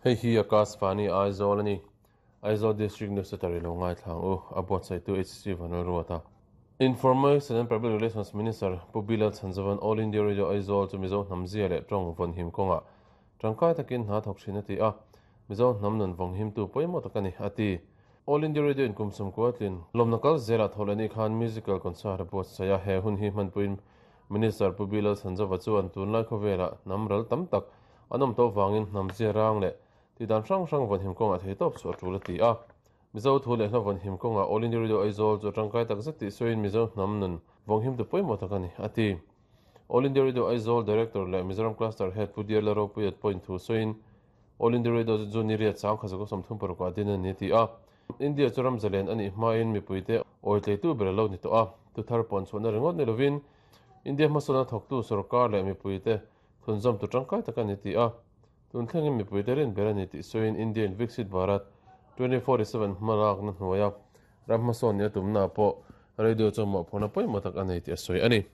Hei hi Akashvani Aizawl a ni. Aizawl District Newsletter i lo ngaithla ang u, a buatsaihtu HC Vanlalruata. Information and Public Relations Minister Pu Bilal Chhanzovan All India Radio Aizawl chu Mizo hnam zia leh tawng vawnhim kawngah tangkai takin hna thawk thin a ti a, Mizo hnam nun vawnghimtu pawimawh tak a ni, a ti. All India Radio in kum sawmkua tlin lawmna kal zelah thawh leh ni khan Musical Concert a buatsaih a, he hun hi hmanpuiin Minister Pu Bilal Chhanzova chuan tunlai khawvelah hnam ral tam tak an awm tawh vangin hnam zia rang leh Tihdan hrang hrang vawnhim kawngah thei tawp chu a tul a ti a. Mizo thu leh hla vawnhim kawngah All India Radio Aizawl chu a tangkai tak zet tih sawiin Mizo hnam nun vawnghimtu pawimawh tak a ni, a ti. All India Radio Aizawl Director leh Mizoram Cluster Head Pu Diarla Ropuiat pawhin thu sawiin All India Radio chu June ni riat sang kha zakua 36 ah din a ni a ti a. India chu ram zalen a nih hmain mipuite awitleitu ber a lo ni tawh a. Thuthar pawn chhuahna ringawt ni lovin India hmasawnna thawktu sorkar leh mipuite thunzawmtu tangkai tak a ni ti a. Tun thlengin mipuite rin ber a ni tih sawiin Indian Viksit Bharat 2047 hmalakna hnuaia ram hmasawn nia tumnaah pawh radio chuan mawhphurhna pawimawh tak a nei tih a sawi a ni.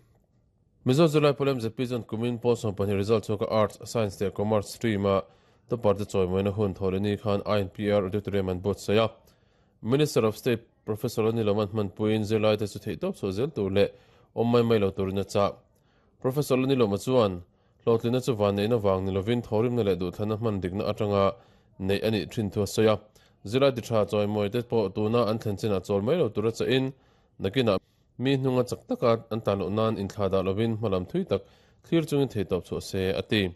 Mizo Zirlai Pawl MZP chuan kumin pawl 12 result chhuaka Arts, Science leh Commerce stream-a topper te chawimawina hun thawhlehni khan INPR Auditorium an buatsaih a. Minister of State Professor Anil Oman hmanpuiin zirlaite chu theihtawp chhuah zel tur leh awm mai mai lo turin a chah. Professor Lanilawma chuan, Hlawhtlinna chu vanneihna vang ni lovin thawhrimna leh duhthlanna hman dikna atanga neih a nih thin thu a sawi a. Zirlai ti tha chawimawi te pawh tuna an thlen chinah chawl mai lo tura chahin, nakinah mi hnunga chak taka an tan loh nan inthlah dah lovin hmalam thui tak thlir chungin theihtawp chhuah se, a ti.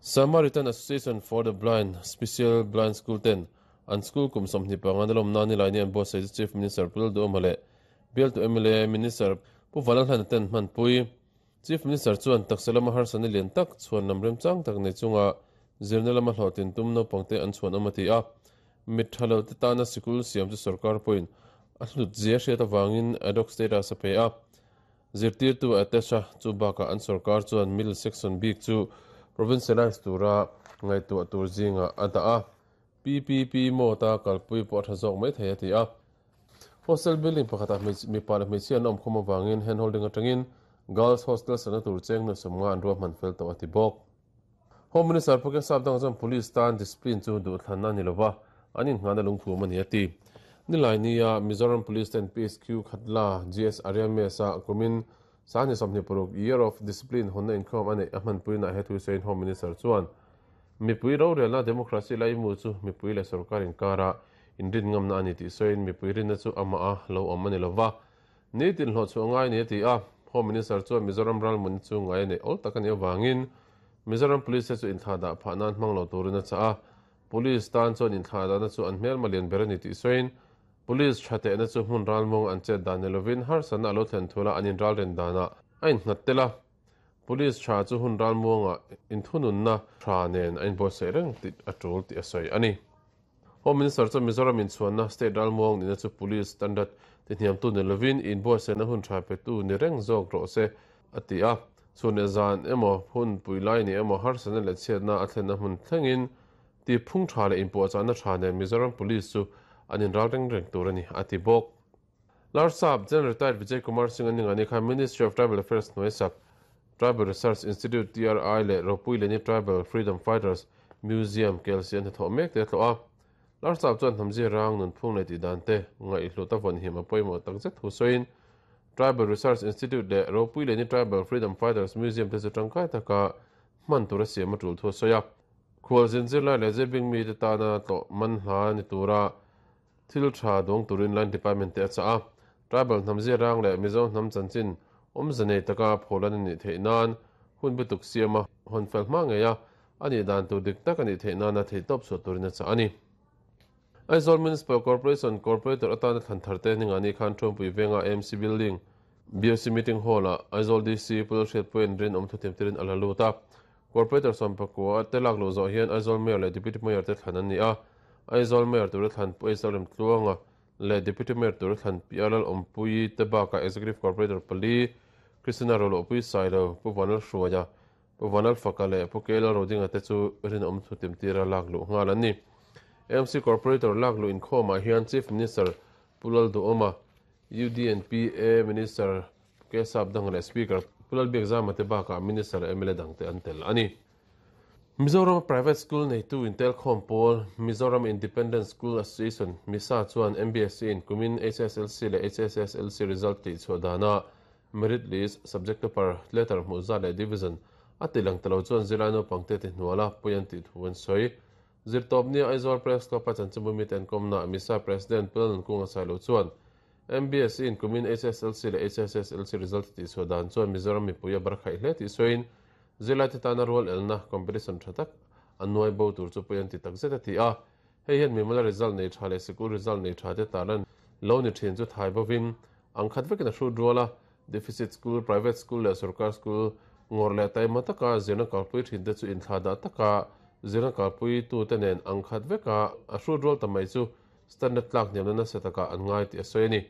Samaritan Association for the Blind Special Blind School ten an school kum 25 na lawmna nilai ni an buatsaih chu Chief Minister Pu Lalduhawma leh Bialtu mla Minister Pu Vanlalhlana ten hmanpui. Chief Minister chuan taksa lama harsatna lian tak chhuan lam remchang tak nei chunga zirna lama hlawhtlin tum naupangte an chhuan awm a ti a. Mit tha lo te tana sikul siam chu sorkar pawhin a hlut zia hriat avangin ad hoc status a pe a. Zirtirtu Atesha chu bakah an sorkar chuan middle section bik chu provincialise tura ngaihtuah tur zingah a dah a. PPP mode-a kalpui pawh a tha zawk mai thei a ti a. Hostel building pakhatah mipa leh hmeichhia an awm khawm avangin hand holding atangin Girls Hostel sana tur cheng nuih 50 an ruahman fel tawh a ti bawk. Home Minister Pu Kesap dang chuan Police tan discipline chu duhthlanna a ni lova, an inngahna lungphum a ni a ti. Nilaini-a Mizoram Police ten PSQ Khatla GS Arya Mess-a kumin 2026 Year of Discipline hawnna inkhawm a neih a hmanpuinaah he thu sawiin Home Minister chuan Mipui rorelna democracy laimu chu mipui leh sorkar inkara inrin ngamna a ni tih sawiin mipui rinna chu amah a lo awm a ni lova, nitin hlawh chhuah ngai a ni a ti a. Home Minister chuan Mizoram ralmun chu ngai a neih awl tak a nih avangin Mizoram Police te chu inthlahdah phah nan hmang lo turin a chah a. Police tan chuan inthlahdahna chu an hmelma lian ber a ni tih sawiin Police tha tehna chu hmun ralmawng an chet dan ni lovin harsatna a lo thlen thula an inralren danah a innghat tel a. Police tha chu hun ralmuangah inthununna tha nen a inbuatsaih reng tih a tul tih a sawi a ni. Home Minister chuan Mizoram inchhuanna state ralmuang nihna chu Police standard tihniamtu ni lovin inbuatsaihna hun tha petu ni reng zawk rawh se a ti a. Chhun leh zan emaw, hun pui lai ni emaw harsatna leh chhiatna a thlenna hmun thlengin tihphung tha leh inpuahchahna tha nen Mizoram Police chu an inral reng reng tur a ni a ti bawk. Larsap, General Retired Vijay Kumar Singh a ningani khan Ministry of Tribal Affairs hnuai sak Tribal Research Institute, TRI, leh Ropui Leni Tribal Freedom Fighters Museum, KLC an hnathawh mek te a tlawh a. Larsap chuan hnamzia rang, nunphung leh tihdan te ngaihhlut a vawnhim a pawimawh takzet thu sawiin Tribal Research Institute leh Ropui Leni Tribal Freedom Fighters Museum te chu tangkai taka hman tura siam a tul thu a sawi a. Khualzin zirlai leh zirbing mite tana tlawh man hla ni tura Thil tha dawng turin Line Department te a chah a, Tribal hnam ziarang leh Mizo hnam chanchin awmze nei taka pholan a nih theih nan hun bituk siam a, hawn fel hma ngei a, a nih dan tur dik tak a nih theih nana theihtawp chhuah turin a chah a ni. Aizawl Municipal Corporation Corporator atana thlan thar te ningani khan Thuampui venga AMC Building, BOC Meeting Hall-ah Aizawl DC Pu Lalhriatpuia'n rinawm thutiam tirin a la lut a. Corporator 11 te lak luh zawh hian Aizawl Mayor leh Deputy Mayor te thlan an ni a. Aizawl Mayor tura thlan Pu Aizawl Remtluanga leh Deputy Mayor tura thlan Pi Alal Awmpuii te bakah Executive Corporator pali, Christina Rolohpui Sailo, Pu Vanlal Hruaia, Pu Vanlal Faka leh Pu Keilal Rodinga te chu rinawm thutim tira lak luh nghal an ni. AMC Corporator lak luh inkhawmah hian Chief Minister Pu Lalduhawma, UDNPA Minister Pu Kesap Danga leh Speaker Pu Lalbiakzama te bakah Minister leh mla dangte an tel a ni. Mizoram Private School neitu intelkhawm pawl Mizoram Independent School Association, misa, chuan MBSE in kumin HSLC leh HSSLC result tihchhuah dana merit list, subject topper, letter hmuh zat leh division a ti lang ta lo chuan zirlai naupangte ti hnuala pui an tih thu an sawi. Zirtawpnia Aizawl Press Club-a chanchinbu mite an kawmnaah misa President Pu Lalnunkunga Sailo chuan MBSE in kumin HSLC leh HSSLC result tihchhuah dan chuan Mizoram mipui a barkhaih hle tih sawiin Zirlaite tana rual elna, competition, tha tak an nuai bo tur chu pawi an ti tak zet a ti a. Hei hian mimala result nei tha leh sikul result nei tha te tarlan lo ni thin chu thai bovin ang khat vekin a hrut rual a. Deficit school, private school leh sorkar school ngawrh leh taima taka zirna kalpui thin te chu inthlahdah taka zirna kalpui tute nen ang khat veka a hrut rual ta mai chu standard tlak hniamna nasa takah an ngai tih a sawi a ni.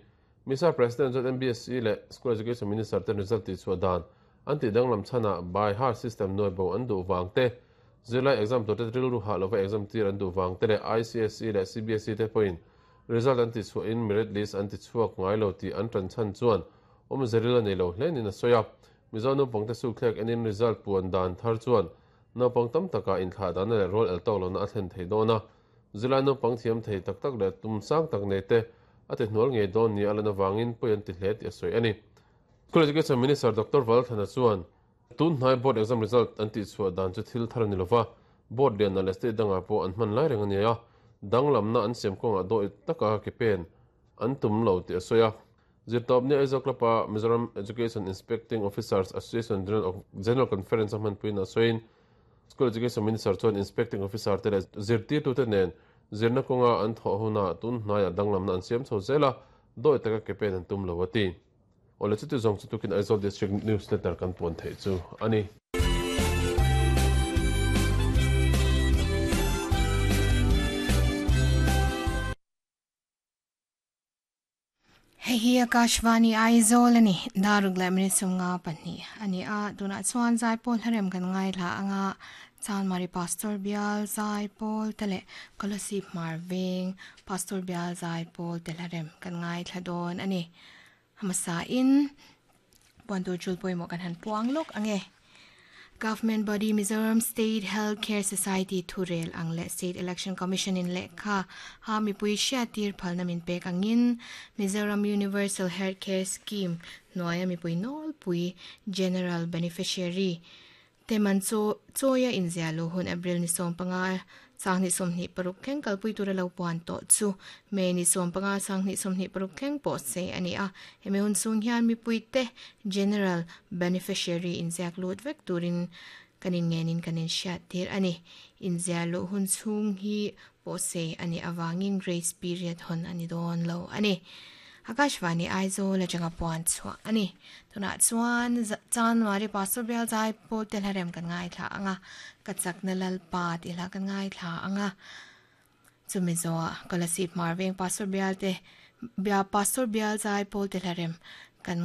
Misa President chuan MBSE leh School Education Minister ten result tihchhuah dan an tih danglam chhanah by heart system nuai bo an duh vang te, zirlai exam turte rilru hah lova exam tir an duh vang te leh ICSE leh CBSE te pawhin result an tihchhuahin merit list an tichhuak ngai lo tih an tan chhan chuan awmze ril a nei lo hle niin a sawi a. Mizo naupangte sukthlek enin result puan dan thar chuan naupang tam takah inthlah dahna leh rual el tawk lohna a thlen thei dawn a. Zirlai naupang thiam thei tak tak leh tum sang tak nei te a ti hnual ngei dawn nia a lan avangin pawi an ti hle tih a sawi a ni. School Education Minister Doctor Valthana chuan tun hnai board exam result an tihchhuah dan chu thil thar a ni lova, board lianah leh state dangah pawh an hman lai reng a ni a, danglamna an siam kawngah dawih taka ke pen an tum lo tih a sawi a. Zirtawpni Aizawl Club-a Mizoram Education Inspecting Officers Association General Conference a hmanpuiin a sawiin School Education Minister chuan Inspecting Officer te leh zirtirtute nen zirna kawnga an thawh hunah tun hnaiah danglamna an siam chho zel a, dawih taka ke pen an tum lo a ti. Awle chuti zawng chu tukin Aizawl District Newsletter kan puan theih chu a ni. Hei hi Akashvani Aizawl a ni. Daruk leh minute 52 a ni a. Tunah chuan Zaipawl hlarem kan ngaithla anga Chanmari Pastor Bial Zaipawl te leh Kolasib Hmar Veng Pastor Bial Zaipawl te hlarem kan ngaithla dawn a ni. Hmasa in puan tur chul pawimawh kan han puang lawk ang e. Government body Mizoram State Health Care Society thurel ang leh State Election Commission in lehkha ha mipui hriattir phalna min pek angin Mizoram Universal Health Care Scheme hnuaia mipui nawlpui General Beneficiary Te man chu chawia inziah luh hun April ni 15, 2026 thleng kalpui tura lo puan tawh chu May ni 15, 2026 thleng pawh se a ni a. Hemi hun chhung hian mipuite General Beneficiary inziak lut vek turin kan inngenin kan inhriattir a ni. Inziah luh hun chhung hi pawh sei a nih avangin grace period hawn a ni dawn lo a ni. Akashvani Aizawl atanga puan chhuah a ni. Tunah chuan January Pastor Bial Zai Pawl te hlarem kan ngaithla ang a, ka chakna Lalpa tih hla kan ngaithla ang a. Chumi zawhah Kolasib Hmar Veng Pastor Bial te Pastor Bial Zai Pawl te hlarem